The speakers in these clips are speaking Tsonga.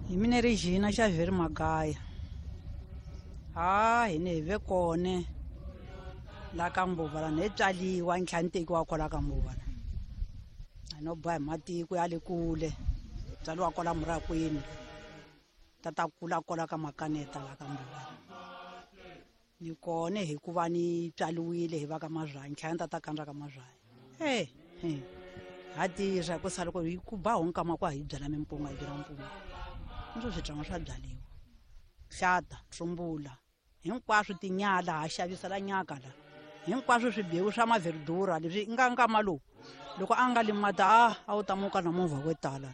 Hi mina Regina Xavier Magaya. Ha hina hi ve kone la ka Mbuva la ni tswaliwa ni tlhela ni tekiwa kwala ka Mbuva la. A no boha hi matiko ya le kule tswaliwa kwala Murakwini ta ta kula kwala ka Makaneta la ka Mbuva. Ni kone hikuva ni tswaliwile hi va ka Mazwanyi tlhela ni ta ta kandza ka Mazwanyi. Ha tirha ku sala ku hi ku ba honkama ku hi byala mimpunga hi byala mpunga. Ni swi tswanga swa byaliwa. Hlata, tsumbula, hinkwaswo tinyala ha xavisa la nyaka la. Hinkwaswo swibewu swa maverdura leswi nga nkama lowu. Loko a nga limata a wu ta muka na movha wo tala.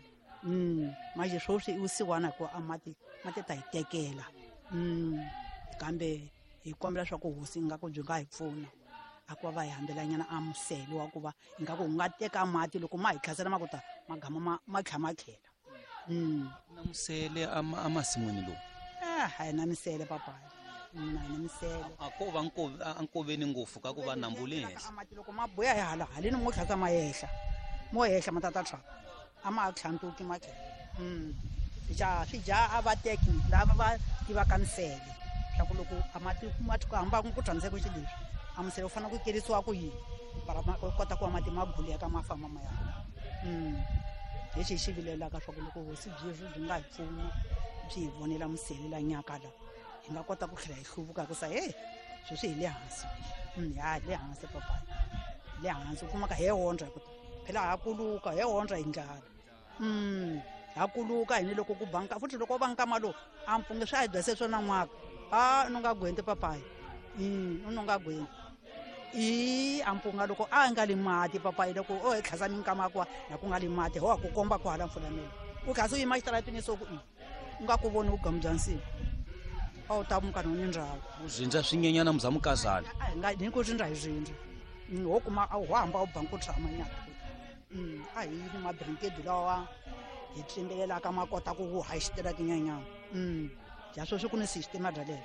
Manje sweswi i vusiwana hikuva a mati mati ta hi tekela. Kambe hi kombela swa ku hosi ingaku byi nga hi pfuna. A ku va hi hambelanyana a musele wa ku va ingaku wu nga teka mati loko ma hi tlhasela ma ku ta magama ma tlha ma tlhela. Na musele a masin'wini lowu? A hi na misele papayi. A hi na misele. A ko va a nkoveni ngopfu ka ku va nambu le henhla. Mati loko ma buya hi hala haleni mo tlhasa ma yehla. Mo yehla ma tata tshwa. A ma tlhantuki ma tlhela. Ja swi dya a va teki lava va tivaka misele. Swa ku loko a mati ma ku hamba ku tshamiseke xilo leswi. A musele wu fanele ku kerisiwa ku yini? Para ma kota ku va mati ma guleka ma famba ma ya. Lexi hi xi vilelaka swa ku loko hosi byi byi nga hi pfuna byi hi vonela musele la nyaka la hi nga kota ku tlhela hi hluvuka ku sa hey sweswi hi le hansi. Ya hi le hansi papa. Le hansi u kumaka he ondza ku phela ha kuluka he ondza hi ndlala. Ha kuluka hi ni loko ku banka futhi loko va nkama lowu a mpunge swi a hi byase swona n'waka. A no nga gwenti papayi. No nga gwenti. I a mpunga loko a nga li mati papayi loko o hi tlhasa minkama kwa na ku nga li mati ho ku komba ku hala mpfula mele. U tlhasa u yima xitaratini so ku u nga ku voni vugamu bya nsimu. A wu ta muka no ni ndhawu. U zindza swinyenyana muzamukazana. A hi nga ni ku zindza hi zindza. Ho kuma a ho hamba u banku tshama nyana. A hi ni mabrinkedi lawa hi tlimbelelaka ma kota ku haxitela tinyenyana. Ja sweswi ku ni system bya leswo.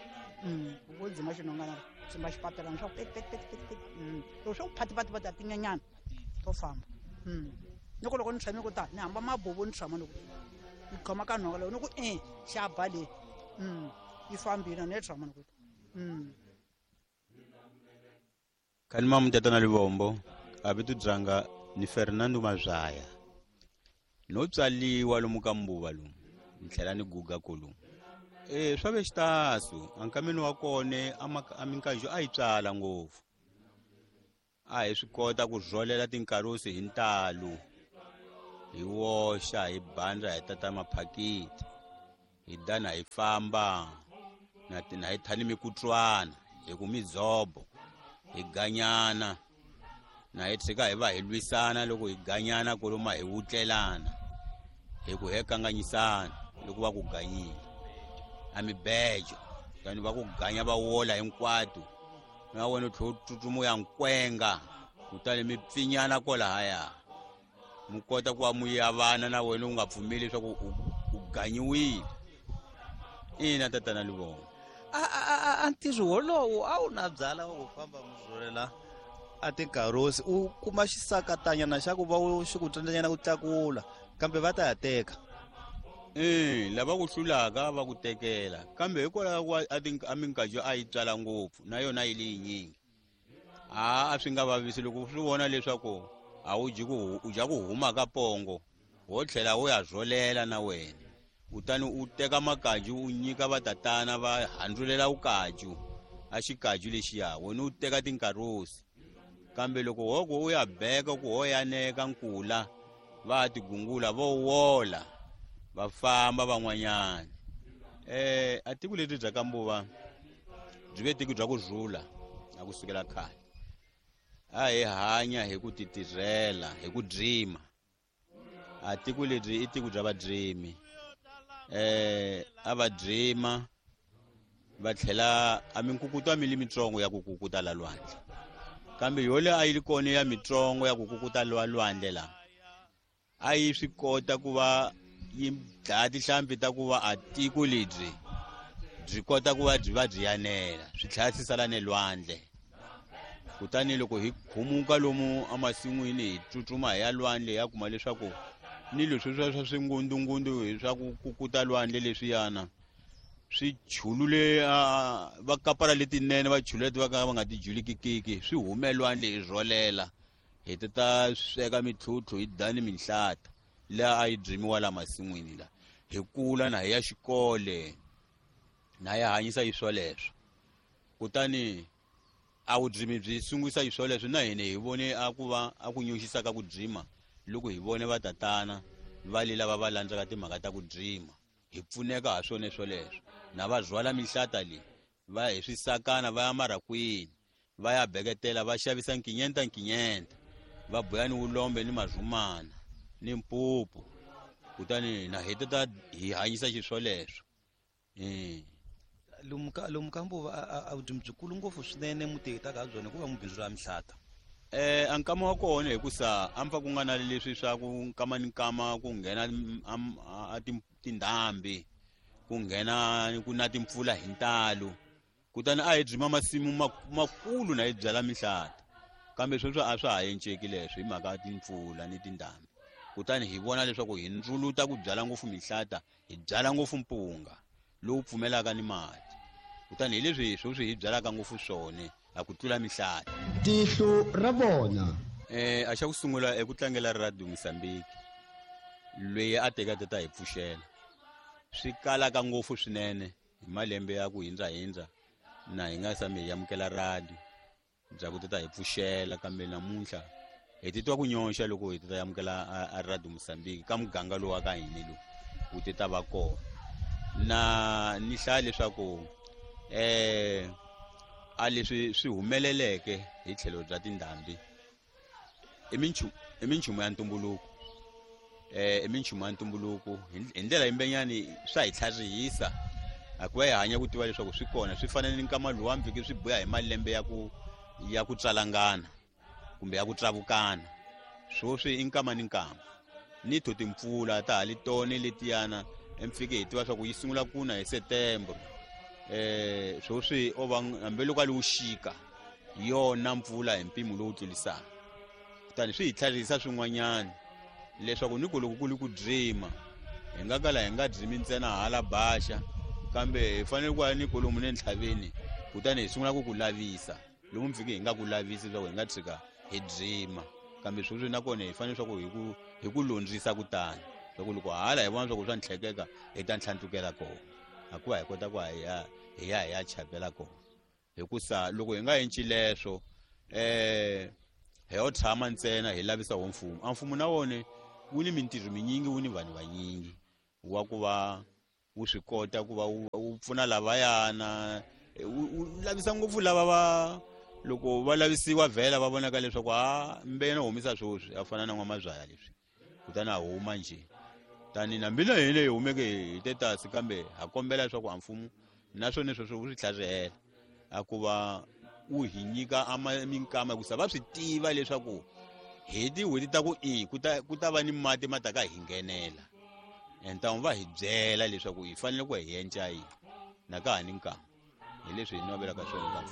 U dzima xinongana tsimba xipapelana swa ku pet pet pet pet pet. Loko swo phati phati phati tinyenyana to famba. Ni ku loko ni tshame ku ta ni hamba mabubu ni tshama ni ku ni khoma ka nhonga loko ni ku xa ba le. Yi fambile ni tshama ni ku. Khalima Mutatana Livombo a vito byanga ni Fernando Mazwaya. No tswaliwa lomu ka Mbuva lomu ni tlhela ni guga kolomu. Swa ve xitasu ankameni wa kone a minkanjo a yi tswala ngopfu. A hi swi kota ku rholela tinkarusi hi ntalo. Hi woxa hi bandza hi tata maphakiti. Hi dana hi famba na tina hi thani mikutswana hi ku midzobo hi ganyana na hi tshika hi va hi lwisana loko hi ganyana koloma hi wutlelana hi ku he kanganyisana loko va ku ganyile a mibejo kutani va ku ganya va wola hinkwato na wena u tlhela u tsutsuma u ya nkwenga kutani mi pfinyana kwalahaya mu kota ku va mu yavana na wena u nga pfumeli leswaku u ganyiwile. Ina tatana Livongo. A ntirho wolowo a wu na byala wa ku famba mu rholela a tinkarosi u kuma xisakatanyana xa ku va u xi ku tsandzanyana ku tlakula kambe va ta ya teka. Lava ku hlulaka va ku tekela kambe hikwalaho ku a minkajo a yi tswala ngopfu na yona yi le yinyingi. A swi nga vavisi loko swi vona leswaku a wu dyi ku u dya ku huma ka pongo wo tlhela u ya rholela na wena. Kutani u teka makaju u nyika vatatana va handzulela vukaju a xikaju lexiya wena u teka tinkarosi. Kambe loko hoko u ya beka ku ho yaneka nkula va tigungula vo wola va famba van'wanyana. A tiko leri bya ka Mbuva byi ve tiko bya ku rhula na ku sukela khale. A hi hanya hi ku titirhela hi ku dzima. A tiko leri i tiko bya vadzimi. A va dzima va tlhela a minkukuto a mi li mitsongo ya ku kukuta la lwandle. Kambe yole a yi ri kona ya mitsongo ya ku kukuta la lwandle la. A yi swi kota ku va yi dlaya tinhlampfi ta ku va a tiko lebyi byi kota ku va byi va byi yanela swi tlhela swi sala ne lwandle. Kutani loko hi khumuka lomu emasin'wini hi tsutsuma hi ya lwandle ya kuma leswaku Ni leswi swa swingundungundu hi swa ku kukuta lwandle leswiyana swi chulule va kapara letinene va chulule leti va ka va nga ti julikikiki swi hume lwandle hi rholela hi ti ta sweka mitlhutlhu hi dani minhlata laha a yi byimiwa la masin'wini la hi kula na hi ya xikole na ya hanyisa yi swoleswo. Kutani a vudzimi byi sungurisa yi swoleswo na hina hi vone a ku va a ku nyoxisa ka ku dzima loko hi vone vatatana va le lava va landzaka timhaka ta ku dzima hi pfuneka ha swona swoleswo. Na va rhwala minhlata leyi va hi swisakana va ya marakwini va ya beketela va xavisa nkinyenta nkinyenta va boya ni vulombe ni mazumana ni mpupu. Kutani na hi ta hi hanyisa xiswoleswo. Lomu ka Mbuva a vudzimi byikulu ngopfu swinene mutihitaka ha byona hikuva mubindzu ra mihlata. A nkama wa kona hikusa a mpfa ku nga na leswi swa ku nkama ni nkama ku nghena a tindhambi ku nghena ku na timpfula hi ntalo. Kutani a hi dzima masimu makulu na hi byala mihlata. Kambe sweswo a swa ha enceki leswi hi mhaka ya timpfula ni tindhambi. Kutani hi vona leswaku hi ndzuluta ku byala ngopfu mihlata, hi byala ngopfu mpunga lowu pfumelaka ni mati. Kutani hi leswi sweswi hi byalaka ngopfu swona a ku tlula mihlata. Tihlo ra vona. A xa ku sungula eku tlangela Radio Mozambique loyi a teka ta hi pfuxela. Swi kalaka ngopfu swinene hi malembe ya ku hindzahindza na hi nga sami hi amukela radio bya ku ta hi pfuxela, kambe namuntlha hi titwa ku nyoxa loko hi ta amukela a Radio Mozambique ka muganga lowu wa ka hina lowu wu ti ta va kona. Na ni hlaya leswaku a leswi swi humeleleke hi tlhelo bya tindhambi i minchumu ya ntumbuluko. I minchumu ya ntumbuluko hi ndlela yimbenyani swa hi tlharihisa a ku va hi hanya ku tiva leswaku swi kona swi fanele ni nkama luwa mpfike swi buya hi malembe ya ku tswalangana kumbe ya ku tsavukana. Swoswi i nkama ni nkama ni to timpfula ta ha li tone letiyana mpfike hi tiva swa ku yi sungula ku na hi September. Swoswi o va hambi loko a li wuxika yona mpfula hi mpimo lowu tlulisaka. Kutani swi hi tlharihisa swin'wanyana leswaku ni ku loko ku li ku dzima hi nga kala hi nga dzimi ntsena hala baxa, kambe hi fanele ku ya ni kolomu ne ntlhaveni kutani hi sungula ku ku lavisa lomu mpfike hi nga ku lavisi leswaku hi nga tshika hi dzima. Kambe sweswi nakona hi fanele leswaku hi ku londzisa kutani swa ku loko hala hi vona swa ku swa ntlhekeka hi ta ntlhantlukela kona, hikuva hi kota ku hi ya hi ya hi ya chapela kona. Hikusa loko hi nga enci leswo hi yo tshama ntsena hi lavisa wo mfumo. A mfumo na wona wu ni mintirho minyingi, wu ni vanhu vanyingi wa ku va wu swi kota ku va wu pfuna lavayana, wu lavisa ngopfu lava va loko va lavisiwa vhela va vonaka leswaku a mbena humisa swoswi a fana na n'wamazwaya leswi kutani a huma njhe. Tani na mina hi leyi humeke hi tetasi, kambe ha kombela leswaku a mfumo naswona sweswo wu swi tlharihela a ku va wu hi nyika minkama hikusa va swi tiva leswaku hi tin'hweti ta ku i ku ta va ni mati ma ta ka hi nghenela. Entamu va hi byela leswaku hi fanele ku hi endla yini na ka ha ni nkama. Hi leswi hi navelaka swona ka mfumo.